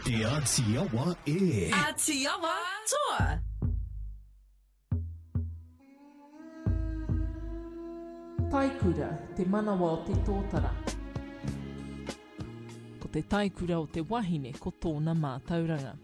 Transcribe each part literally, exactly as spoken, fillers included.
Te Āti Awa e. Āti Awa toa! Taikura, te manawa o te tōtara. Ko te taikura o te wahine ko tōna mātauranga.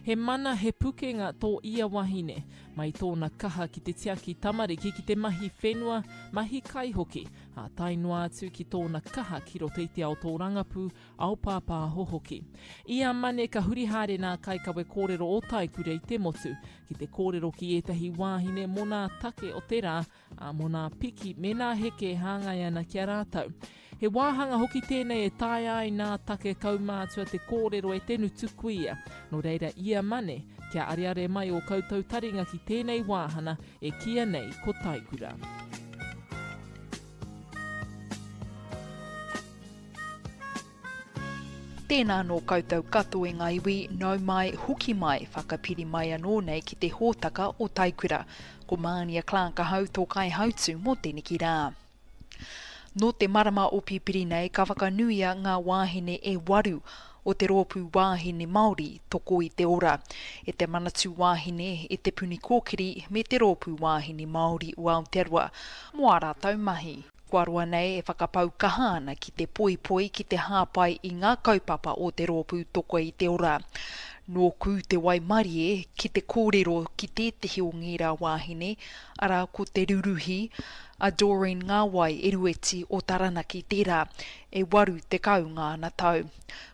He mana, he pukenga tō ia wahine, mai tōna kaha ki te tiaki tamariki ki te mahi whenua, mahi kai hoki, ā tae noa atu ki tōna kaha ki roto i te ao tōrangapū, ao pāpāho hoki. I a Mane ka huri haere nā kaikawe kōrero o Taikura i te motu, ki te kōrero ki ētahi wāhine mō nā take o te rā, ā, mō nā piki me nā heke e hāngai ana ki a rātou. He wāhanga hoki tēnei e taea ai nā take kaumātua te kōrero e te ngutu kuia. Nō reira ia Mane, kia areare mai ō koutou taringa ki tēnei wāhana e kīia nei ko Taikura. Tēnā nō koutou katoa e ngā iwi, nau mai, hoki mai, whakapiri mai anō nei ki te hōtaka o Taikura. Ko Mānia Clark ahau tō kaihautū mō teneki rā. Nō te marama o Pipiri nei ka whakanuia ngā wāhine e waru o te Rōpū Wāhine Māori Toko i te Ora, e te Manatū Wāhine, e Te Puni Kōkiri me te Rōpū Wāhine Māori o Aotearoa mō ā rātou mahi. Kua roa nei e whakapau kaha ana ki te poipoi, ki te hāpai i ngā kaupapa o te Rōpū Toko i te Ora. Nōku te waimarie ki te kōrero ki tētehi o ngērā wāhine, arā ko Te Ruruhi, a Doreen Ngāwai Erueti o Taranaki tērā, e waru tekau ngāna tau.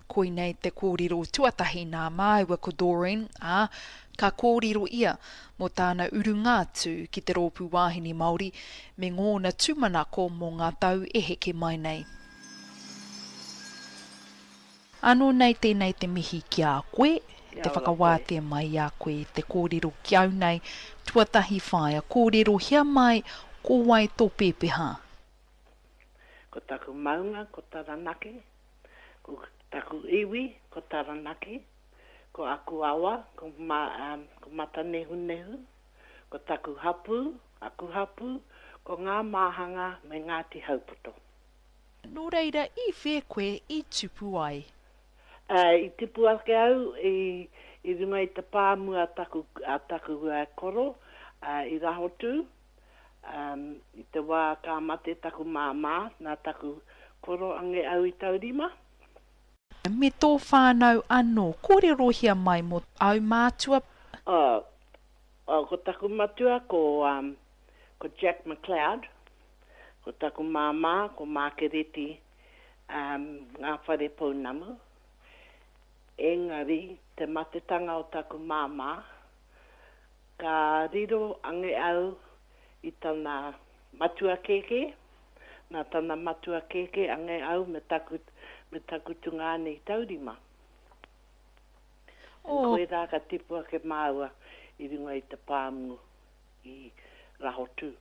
Koinei te kōrero tuatahi nā māua ko Doreen, ā, ka kōrero ia mō tāna urunga atu ki te Rōpū Wāhine Māori me ngōna tūmanako mō ngā tau e heke mai nei. Anō nei tēnei te mihi ki a koe, te whakawātea mai i a koe te kōrero ki au nei, tuatahi whaea, kōrerohia mai ko wai tō pēpeha? Ko taku maunga ko Taranaki, ko taku iwi ko Taranaki, ko aku awa ko ko Matanehunehu, ko taku hapū, aku hapū, ko Ngā Māhanga me Ngāti Haupoto. Nō reira, i whea koe i tupu ai? I tipu ake au i i runga i te pāmu a taku, a taku koro i Rahotū, i te wā ka mate taku māmā, nā taku koro ange au i taurima. Me tō whānau anō, kōrerohia mai mō āu mātua. Oh, oh, ko taku matua ko, um, ko Jack McLeod, ko taku māmā ko Mākereti um, Ngā Whare Pounamu. Engari, te matetanga o taku māmā, ka riro ange au i tana matua kēkē, nā tana matua kēkē ange au me taku, me taku tungāne i taurima. Oh. Koirā ka tipu ake māua i runga i te pāmu i Rahotū.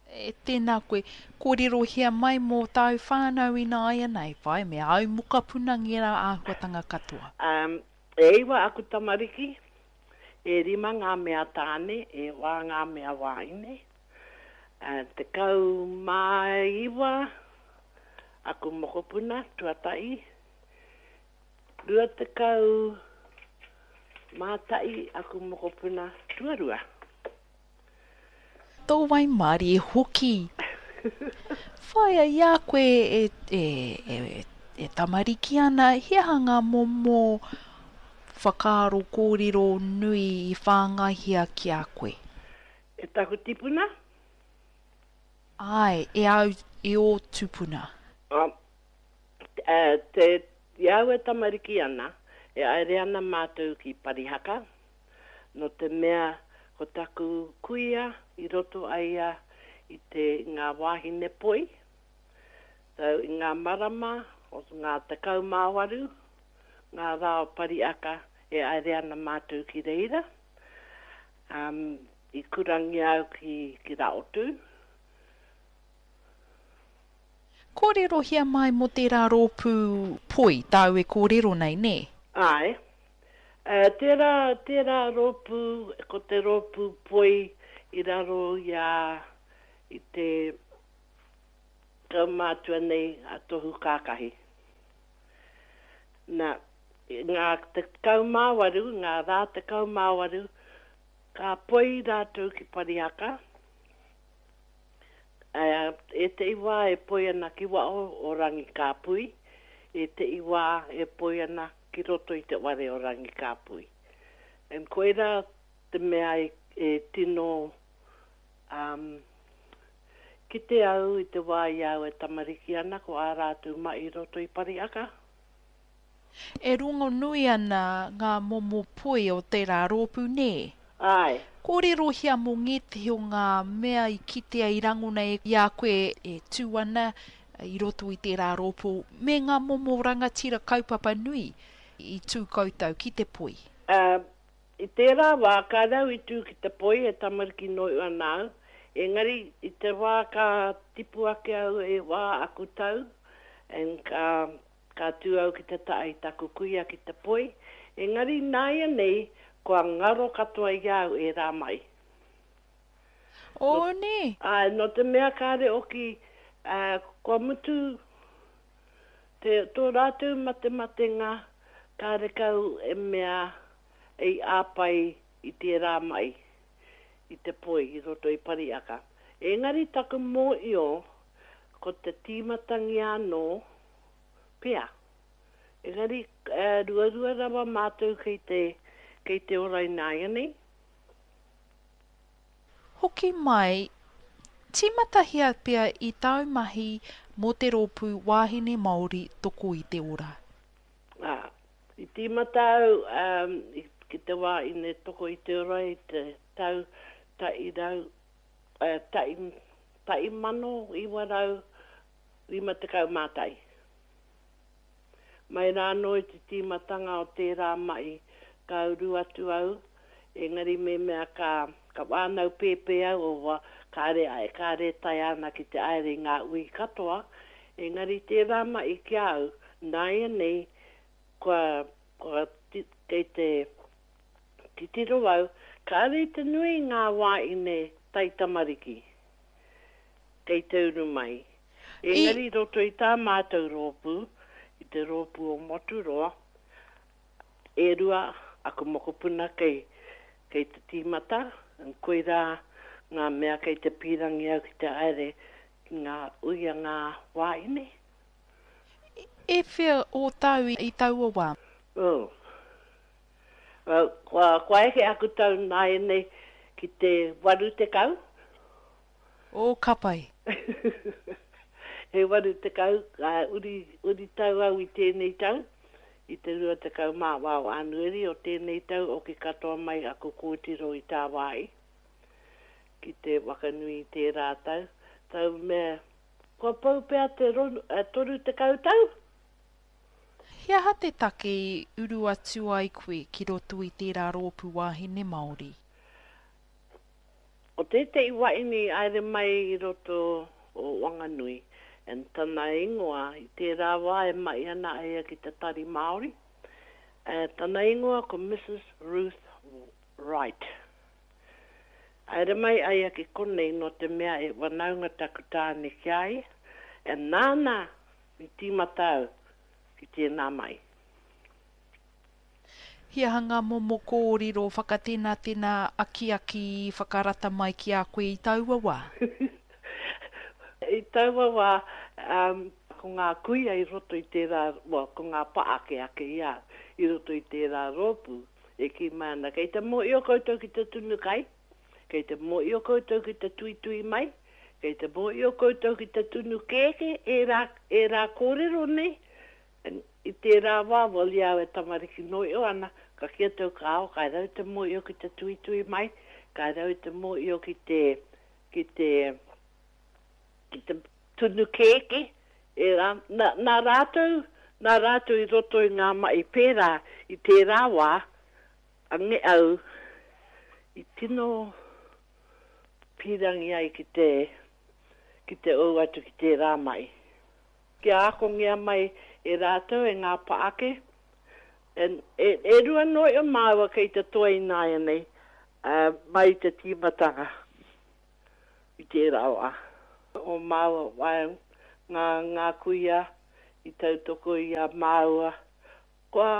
E, tēnā koe, kōrerohia mai mō tāu whānau ināianei, whai, me āu mokapuna ngērā āhuatanga katoa. Um, e iwa aku tamariki, e rima ngā mea tāne, e wā ngā mea wāhine. Uh, tekau mā iwa aku mokopuna, tuatahi. Rua tekau mā tahi aku mokopuna, tuarua. Tō waimarie hoki. Whaia i a koe e, e, e, e tamariki ana, he aha ngā momo whakaaro kōrero nui i whāngaihia ki a koe? E taku tipuna? Āe, e au, e ō tupuna. Uh, te, i au e tamariki ana, e aere ana mātou ki Parihaka, nō te mea ko taku kuia i roto a ia i te ngā wāhine poi, so i ngā marama o ngā tekau mā waru, ngā rā o Pariaka e aere ana mātou ki reira. Um, i kurangia au ki, ki Raotū. Kōrerohia mai mō tērā rōpū poi tāu e kōrero nei, nē? Āe. Tērā, tērā rōpū, ko te rōpū poi i raro i a, i te kaumātua nei a Tohu Kākahi. Nā, ngā tekau mā waru, ngā rā tekau mā waru, ka poi rātou ki Parihaka. Ētehi wā e poi ana ki waho o Rangikāpui, ētehi wā e poi ana ki roto i te whare o Rangikāpui. And koirā te mea e tino um, kite au i te wā i a au e tamariki ana ko ā rātou mahi i roto i Parihaka. E rongonui ana ngā momo poi o tērā rōpū, nē? Āe. Kōrerohia mō ngētehi o ngā mea i kitea i rangona i a koe e tū ana i roto i tērā rōpū me ngā momo rangatira kaupapa nui i tū koutou ki te poi. Ā, i tērā wā, kāre au i tū ki te poi, he tamariki noa ana au, engari i te wā ka tipu ake au e whā aku tau, and ka, ka tū au ki te taha i taku kuia ki te poi, engari nāianei kua ngaro katoa i a au ērā mahi. Oh, nē? Āe, nō te mea kāre oki, ā, kua mutu te, tō rātou matematenga, kārekau e mea i āpai i tērā mahi, i te poi i roto i Parihaka. Engari taku mōhio, ko te tīmatangia anō pea. Engari, ruarua rawa mātou kei te, kei te ora ināianei. Hoki mai, tīmatahia pea i tāu mahi mō te rōpū Wāhine Māori Toko i te Ora. Ā, i tīmata au ki te Wāhine Toko i te Ora i te tau tahi rau, tahi, tahi mano iwa rau rima tekau mā tahi. Mai rā anō i te tīmatanga o tērā mahi ka uru atu au, engari mehemea ka, ka whānau pēpē au, o, kāre, kāre e taea ana ki te haere i ngā hui katoa, engari tērā mahi ki a au, nāianei kua, kua, kei te titiro au, kāre i te nui ngā wāhine taitamariki kei te uru mai. Engari i roto i tā mātou rōpū, i te rōpū o Moturoa, e rua aku mokopuna kei, kei te tīmata, koirā ngā mea kei te pīrangi au ki te haere ki ngā ui a ngā wāhine. E whea ō tau i taua wā? Oh. Well, kua, kua eke aku tau nāianei ki te waru tekau. Oh, ka pai. He waru tekau, ā, uri, uri tau au i tēnei tau, i te rua tekau mā wā o Ānueri o tēnei tau oki katoa mai aku kōtiro i tāwāhi ki te wakanui i tērā tau. Tau mea, kua pau pea te ronu, ā, toru tekau tau? He aha te take i uru atu ai koe ki roto i tērā rōpū wāhine Māori? Ko tētehi wahine i haere mai i roto o Wanganui, and tana ingoa, i tērā wā e mahi ana a ia ki te Tari Māori, tana ingoa ko Mrs Ruth Wright. Haere mai a ia ki konei nō te mea e whanaunga taku tāne ki a ia, and nāna i tīmata au ki tēnā mahi. He aha ngā momo kōrero whakatenatena, akiaki, whakarata mai ki a koe i taua wā? I taua wā, ko ngā kuia i roto i tērā, well, ko ngā pāake ake i a au, i roto i tērā rōpū, e kī mai ana, kei te mōhio koutou ki te tunu kai, kei te mōhio koutou ki te tuitui mai, kei te mōhio koutou ki te tunu kēkē, ērā, ērā kōrero nei, I tērā wā, well, i a au e tamariki noa iho ana, ka kī atu au, kāo, kāre au i te mōhio ki te tuitui mai, kāre au i te mōhio ki te, ki te, ki te tunu kēkē, ērā, nā, nā rātou, nā rātou i roto i ngā mahi pērā i tērā wā, ange au i tino pīrangi ai ki te, ki te ou atu ki tērā mahi. Kia akongia mai e rātou, e ngā paake. And e, e rua noa iho māua kei te toa ināianei, ā, mai i te tīmatanga i tērā wā. O māua, wā, ngā, ngā kuia i tautoko i a māua. Kua,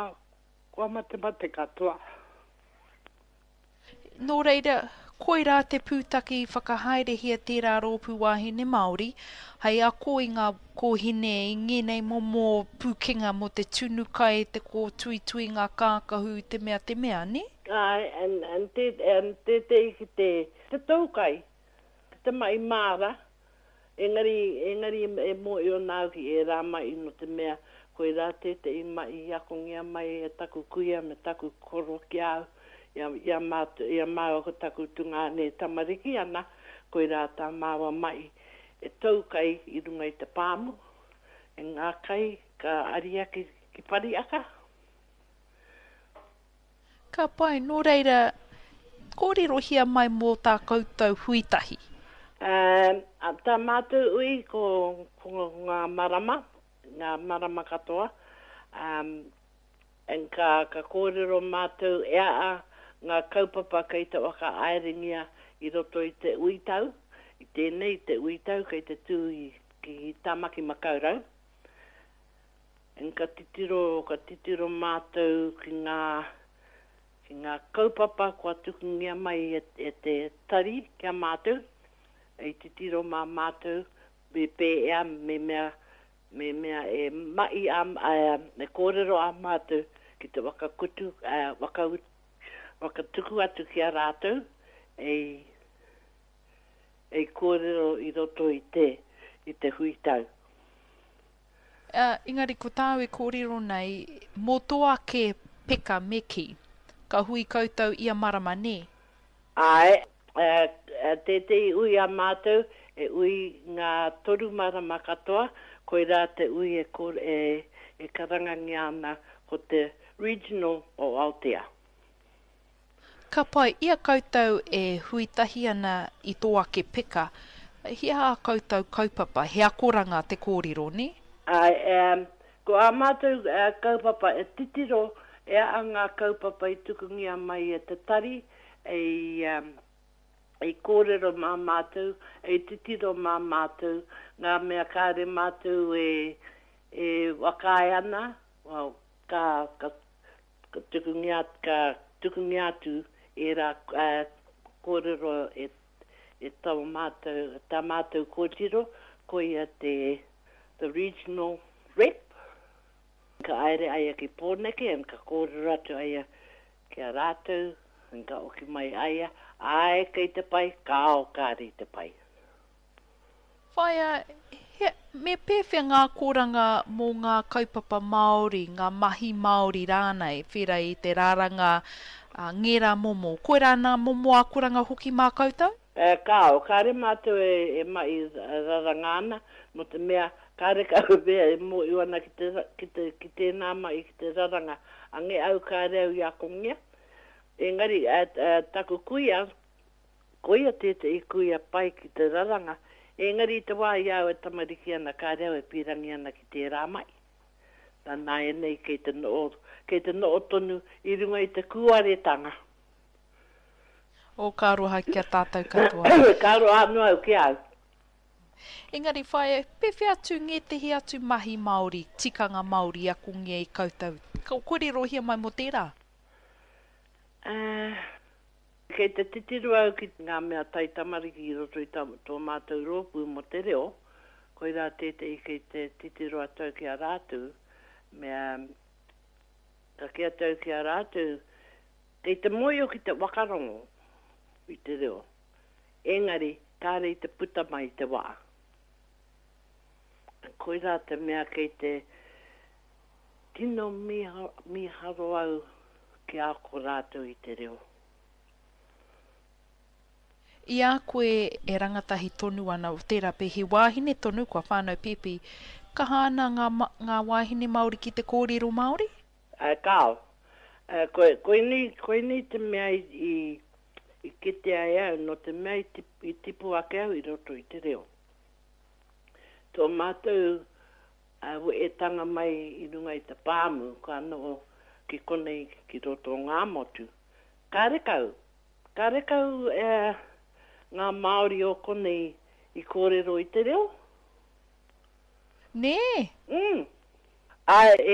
Kua matemate katoa. Nō reira, koirā te pūtake i whakahaerehia tērā rōpū wāhine Māori, hei ako i ngā kōhine i ngēnei momo pūkenga mō te tunu kai, te kōtuitui ngā kākahu, te mea, te mea, nē? Āe, and, and, te, and tētehi ki te, te tou kai, ki te mahi māra, engari, engari e mōhio ana au ki ērā mahi nō te mea koirā tētehi mahi i akongia mai e taku kuia me taku koro ki a au, i a, i a mātou, i a māua ko taku tungāne e tamariki ana, koirā tā māua mahi e tou kai i runga i te pāmu, e ngā kai ka aria ki, ki Parihaka. Ka pai, nō reira, kōrerohia mai mō tā koutou hui tahi. Ā, tā mātou hui ko, ko ngā marama, ngā marama katoa, ā, and ka, ka kōrero mātou e a ngā kaupapa kei te whakahaerengia i roto i te ui tau, i tēnei, te ui tau kei te tū i, ki Tāmaki Makaurau. And ka titiro, ka titiro mātou ki ngā, ki ngā kaupapa kua tukungia mai e, e te tari ki a mātou, hei titiro mā mātou me pēhea, me mea, me mea e mahi a, a, e kōrero a mātou ki te whakakutu, a, whaka, whakatuku atu ki a rātou, ei, ei kōrero i roto i te, i te hui tau. Uh, engari ko tāu e kōrero nei, mō tō ake peka me kī, ka hui koutou ia marama, nē? Āe, tētehi ui a mātou, e ui ngā toru marama katoa, koirā te ui e, e, e karangangia ana ko te Regional o Aotea. Ka pai, i a koutou e hui tahi ana i tō ake peka, he aha ā koutou kaupapa, he akoranga te kōrero, nē? Āe, ko ā mātou kaupapa e titiro e aha ngā kaupapa i tukungia mai e te tari, ei, ei kōrero mā mātou, ei titiro mā mātou, ngā mea kāre mātou e, e whakaae ana, well, ka, ka, ka tukungia, ka tukungia atu ērā uh, kōrero e, e tā mātou, tā mātou kōtiro, koia te the regional rep. Ka haere aia ki Pōneke, and ka kōrero atu aia ki a rātou, and ka oki mai aia, āe kei te pai, kāo kāre i te pai. Whaea, he, me pēwhea ngā akoranga mō ngā kaupapa Māori, ngā mahi Māori rānei, whera i te raranga, uh, ngērā momo. Koirā nā momo akoranga hoki mā koutou? E, kāo, kāre mātou e, e mahi raranga ana, mō te mea, kāre kau mea e mōhio ana ki, te, ki, te, ki tēnā mahi ki te raranga. Ange au kāre au i akongia. Engari, e, e, taku kuia, koia tētehi kuia pai ki te raranga, engari i te wā i au e tamariki ana, kāre au e pīrangi ana ki tērā mahi. Nā nāianei kei te noho, kei te noho tonu i runga i te kūaretanga. O, ka aroha ki a tātou katoa. Ka aroha anō au ki a au. Engari whaea, pēwhea atu ngētehi atu mahi Māori, tikanga Māori akongia i koutou? Ka kōrerohia mai mō tērā? Uh, kei te titiro au ki ngā mea taitamariki i roto i tā, tō mātou rōpū mō te reo, koirā tētehi kei te titiro atu au ki a rātou, mea, ka kī atu au ki a rātou, kei te mōhio ki te whakarongo i te reo, engari kāre i te puta mai i te wā. Koirā te mea kei te tino mīharo au kia ako rātou i te reo. I a koe e rangatahi tonu ana, tērā pea he wāhine tonu kua whānau pēpi, kaha ana ngā, ngā wāhine Māori ki te kōrero Māori? Uh, kāo. Uh, ko, koinei, koinei te mea i, i, i kitea e au, nō te mea i, tip, i tipu ake au i roto i te reo. Tō mātou uh, wehetanga mai i runga i te pāmu, ka noho ki konei ki roto o Ngāmotu. Kārekau, kārekau eh, ngā Māori o konei i kōrero i te reo. Nē? Mm. Āe,